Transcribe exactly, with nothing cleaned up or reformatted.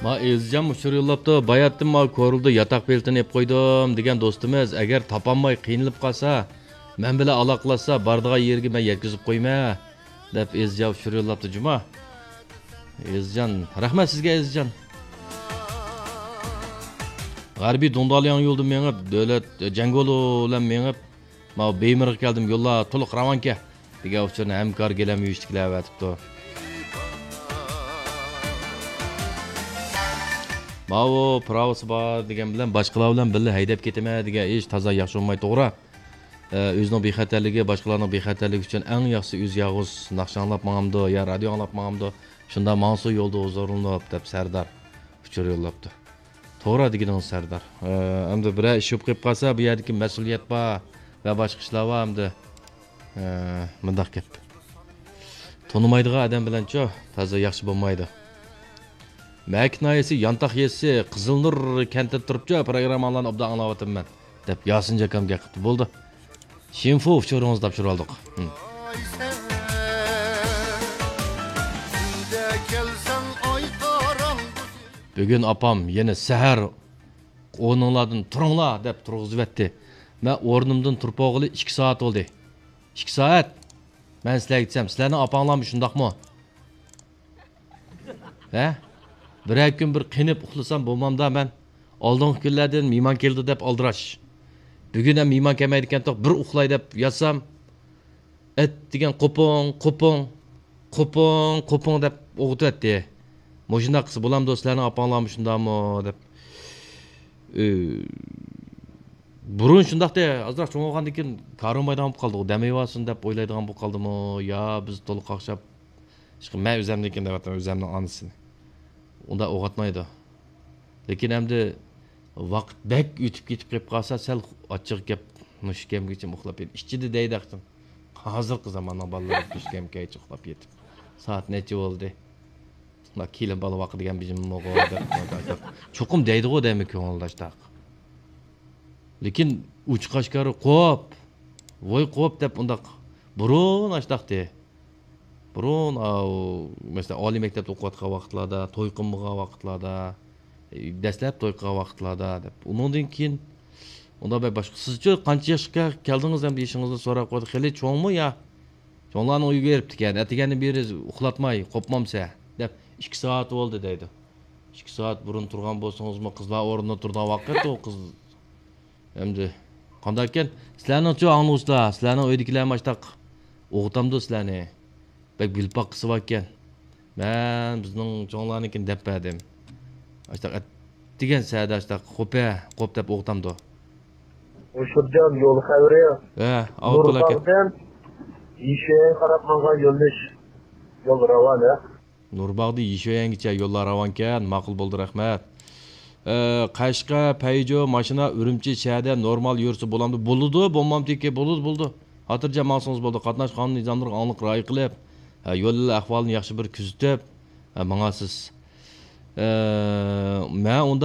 ما ئېزىجان ئۇچۇر يوللاپتۇ، باياتتىن ما كورلىدا ياتاق بېلىتىنى ئېلىپ قويدۇم دېگەن دوستىمىز، ئەگەر تاپالماي قىينىلىپ قالسا، مەن بىلەن ئالاقىلەشسە، بارىدىغان يېرىگە مەن يەتكۈزۈپ قويىمەن، دەپ ئېزىجان ئۇچۇر يوللاپتۇ جۇما. ئېزىجان، رەھمەت سىزگە ئېزىجان. غەربىي دۇڭدالياڭ يولىدا مېڭىپ، دۆلەت جەڭگولى بىلەن مېڭىپ، ماۋۇ بېيمىرغا كەلدىم، يوللار تولۇق راۋانكەن، دېگەن ئۇچۇرنى ھەمكار گىلەم يۈرۈشتىكىلەر ئەۋەتىپتۇ. ماۋۇ پىراۋىسى بار دېگەن بىلەن باشقىلار بىلەن بىللە ھەيدەپ كېتىمەن دېگەن ئىش تازا ياخشى بولماي، توغرا. ئە، ئۆزىنىڭ بىخەتەرلىكى، باشقىلارنىڭ بىخەتەرلىكى ئۈچۈن ئەڭ ياخشىسى ئۆزى يالغۇز ناخشا ئاڭلاپ ماڭامدۇ يا رادىيو ئاڭلاپ ماڭامدۇ، شۇنداق ماڭسا يولدا ھۇزۇرلىنىپ، دەپ سەردار ئۇچۇر يوللاپتۇ. توغرا دېگىنىڭىز سەردار. ئە، ئەمدى بىرەر ئىش بولۇپ قېلىپ قالسا، بۇ يەردىكى مەسئۇلىيەت بار ۋە باشقا ئىشلار بار ئەمدى. ئە، مۇنداق گەپ. تونۇمايدىغان ئادەم بىلەنچۇ، تازا ياخشى بولمايدۇ. مەكىت ناھىيەسى يانتاق يېزىسى قىزىلنۇر كەنتىدە تۇرۇپچۇ، پروگرامماڭلارنى ئوبدان ئاڭلاۋاتىمەن، دەپ ياسىن جاكام گەپ قىپتۇ. بولدى. شىنفۇ ئۇچۇرىڭىزنى تاپشۇرۇۋالدۇق. ھىم. بۈگۈن ئاپام يەنە سەھەر ئورنۇڭلاردىن تۇرۇڭلار دەپ تۇرغۇزۇۋەتتى. مەن ئورنۇمدىن تۇرۇپ بولغىلى ئىككى سائەت بولدى. ئىككى سائەت؟ مەن سىلەرگە دېسەم، سىلەرنىڭ ئاپاڭلارمۇ شۇنداقمۇ؟ ھە؟ بىرەر كۈن بىر قېنىپ ئۇخلىسام بولمامدا مەن؟ ئالدىنقى كۈنلەردىن مېھمان كېلىدۇ دەپ ئالدىراش. بۈگۈن ھەم مېھمان كەلمەيدىكەنتۇق، بىر ئۇخلاي دەپ ياتسام، ئىت دېگەن قوپۇڭ، قوپۇڭ، قوپۇڭ، قوپۇڭ دەپ ئوغۇتۇۋەتتى. مۇشۇنداق قىلسا بولامدۇ، سىلەرنىڭ ئاپاڭلارمۇ شۇنداقمۇ دەپ. ئۆ، بۇرۇن شۇنداقتى، ئازراق چوڭ بولغاندىن كېيىن كارىمايدىغان بولۇپ قالدىغۇ، دەم ئېلىۋالسۇن دەپ ئويلايدىغان بولۇپ قالدىمۇ يا بىز تولۇق قاقشاپ، ئىشقىلىپ مەن ئۆزەمنىڭكىنى دەۋاتىمەن، ئۆزەمنىڭ ئانىسىنى. ئۇنداق ئوغاتمايدۇ. لېكىن ئەمدى ۋاقىت بەك ئۆتۈپ كېتىپ قېلىپ قالسا، سەل ئاچچىق گەپ، مۇشۇ كەمگىچە ئۇخلاپ يېتىپ، ئىچىدە دەيدۇ ئاقسىن. ھازىرقى زاماننىڭ بالىلىرى چۈشكەمگىچە ئۇخلاپ يېتىپ، سائەت نەچچە بولدى؟ ما كېلىن بالا ۋاقى دېگەن بىزمۇغۇ دەپ، چوقۇم دەيدىغۇ دەيمەن كۆڭۈلدە ئاشتاق. لېكىن ئوچۇق ئاشكارا قوپ، ۋوي قوپ دەپ ئۇنداق بۇرۇن ئاشتاقتى. بۇرۇن، ئاۋۇ، مەسىلەن، ئالىي مەكتەپتە ئوقۇۋاتقان ۋاقىتلاردا، توي قىلمىغان ۋاقىتلاردا، دەسلەپ توي قىلغان ۋاقىتلاردا دەپ. ئۇنىڭدىن كېيىن ئۇنداق بەك باشقا. سىزچۇ قانچە ياشقا كەلدىڭىز ئەمدى يېشىڭىزنى سوراپ قويدى. خېلى چوڭمۇ يا؟ چوڭلارنىڭ ئۆيىگە بېرىپتىكەن. ئەتىگەندىن بېرى ئۇخلاتماي، قوپمامسە؟ دەپ، ئىككى سائەت بولدى دەيدۇ. ئىككى سائەت بۇرۇن تۇرغان بولسىڭىزمۇ، قىزلار ئورنىدا تۇرىدىغان ۋاقىت ئۇ قىز. ئەمدى قانداقكەن؟ سىلەرنىڭچۇ ئاڭلىغۇچىلار، سىلەرنىڭ ئۆيدىكىلەرمۇ ئاشتاق ئوغۇتامدۇ سىلەرنى؟ بەك بىلىپ باققۇسى باركەن. مەن بىزنىڭ چوڭلارنىڭكىنى دەپ بەردىم. ئاشتاق ئەتىگەن سەھەردە ئاشتاق قوپە، قوپ دەپ ئوغۇتامدۇ؟ ئۇشۇرجان يول خەۋىرى. ھە، ئاۋۇتتىلا كەت. نۇرباغدىن يېشىۋەيگە قاراپ ماڭغان يۆنىلىش يول راۋان، ھە؟ نۇرباغدىن يېشىۋەيگىچە يوللار راۋانكەن، ماقۇل بولدى، رەھمەت. ئە، قەشقەر، پەيجو، ماشىنا ئۈرۈمچى شەھەردە نورمال يۈرسە بولامدۇ؟ بولىدۇ، بولمامتىكى، بولىدۇ، بولىدۇ. خاتىرجەم ماڭسىڭىز بولىدۇ. قاتناش قانۇن نىزاملىرىغا ئاڭلىق رىئايە قىلىپ، ھە، يول ئەھۋالىنى ياخشى بىر كۆزىتىپ، ھە، ماڭاسىز. ئە، مەن ئۇندا